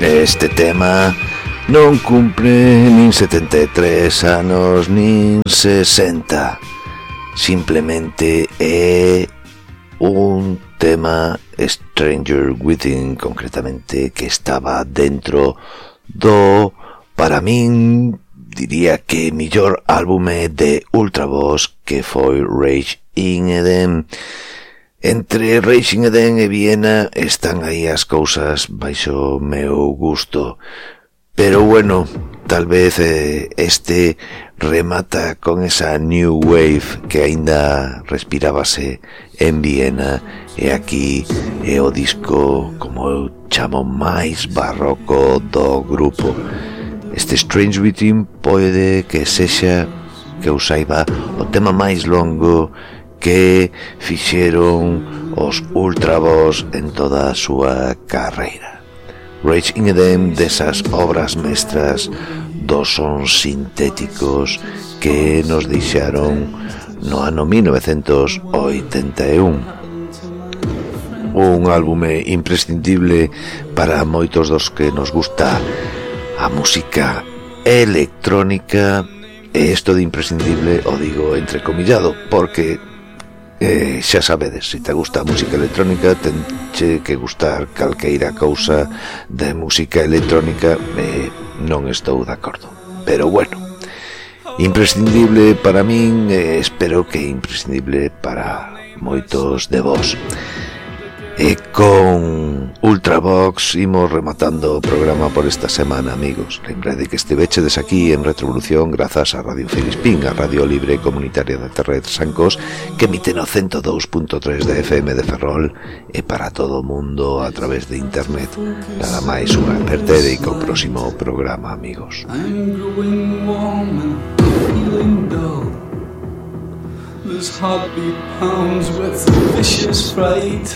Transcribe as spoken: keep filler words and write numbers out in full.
Este tema non cumpre nin setenta e tres anos nin sesenta. Simplemente é un tema Stranger Within, concretamente, que estaba dentro do, para min, diría que millor álbume de Ultravox, que foi Rage in Eden. Entre Rage in Eden e Viena están aí as cousas baixo meu gusto, pero bueno, tal vez eh, este remata con esa new wave que aínda respirábase en Viena, e aquí é o disco, como eu chamo, máis barroco do grupo. Este Strange Within pode que sexa, que eu saiba, o tema máis longo que fixeron os Ultravox en toda a súa carreira. Rage in Eden, desas obras mestras dos sons sintéticos que nos deixaron no ano mil novecentos oitenta e un. Un álbume imprescindible para moitos dos que nos gusta a música electrónica, e isto de imprescindible o digo entrecomillado, porque Eh, xa sabedes, se te gusta a música electrónica, tenche que gustar calqueira cousa de música electrónica. eh, Non estou de acordo, pero bueno, imprescindible para min, eh, espero que imprescindible para moitos de vos. E con Ultravox imos rematando o programa por esta semana, amigos. Lembrade que estivechedes aquí en Retrovolución grazas a Radio Filispín, a Radio Libre Comunitaria da Terra de Trasancos, que emite no cento dous punto tres de F M de Ferrol, e para todo o mundo a través de internet. Nada máis, unha apertere e co próximo programa, amigos. I'm growing warm and feeling dull. This heartbeat pounds with vicious fright.